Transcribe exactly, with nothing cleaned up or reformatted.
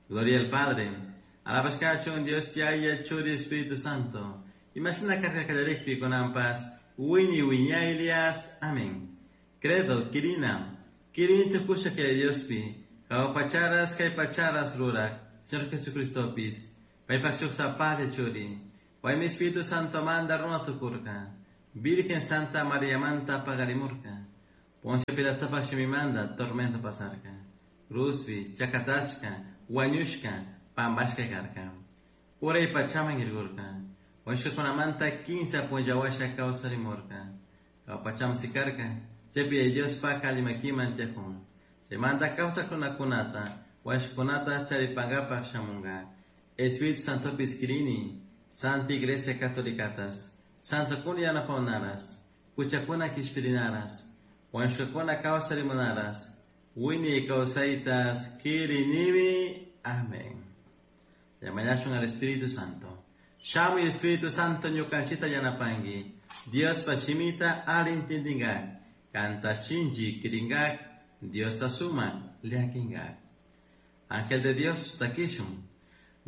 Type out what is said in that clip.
Gloria al Padre, alabashka kachun Dios Yaya, Churi, Espíritu Santo. Imashina karka kallarikpi kunanpas, wiñay wiñaylias. Amén. Credo, Quirina, Quirini tukusha kay Diospi, jahua pacharas kay pacharas rurak, Señor Jesucristopis, paypak shuk sapalla churi, paymi Espíritu Santo manda runa tukurka, Virgen Santa María manta pagarimurka, Poncio Pilatopak shimimanta tormento pasarka, Cruzpi, chakatashka, wañushka, pambashka karka. Uray pachaman irgurka, wañushkakunamanta kinsa punlla washa kawsarimurka, Jahua pachaman sikarka, chaypi Diospak alli makiman tiyakun. Chaymanta kawsakkunakunata, wañushkakunata charipankapak shamunka. Espíritu Santopis kirini, Santa Iglesia Catolicatas, Santokuna yanapahunaras, huchakuna kishpirinaras, wañushkakuna kawsarimunaras, wiñay kawsaytas kirinimi. Amén. Mañashun al Espíritu Santo. Shamuy Espíritu Santo ñukanchita yanapanki. Diospa shimita alli intindingak. Kanta shinchi kiringak. Diosta sumak llakinkak. Ángel de Dios takishun.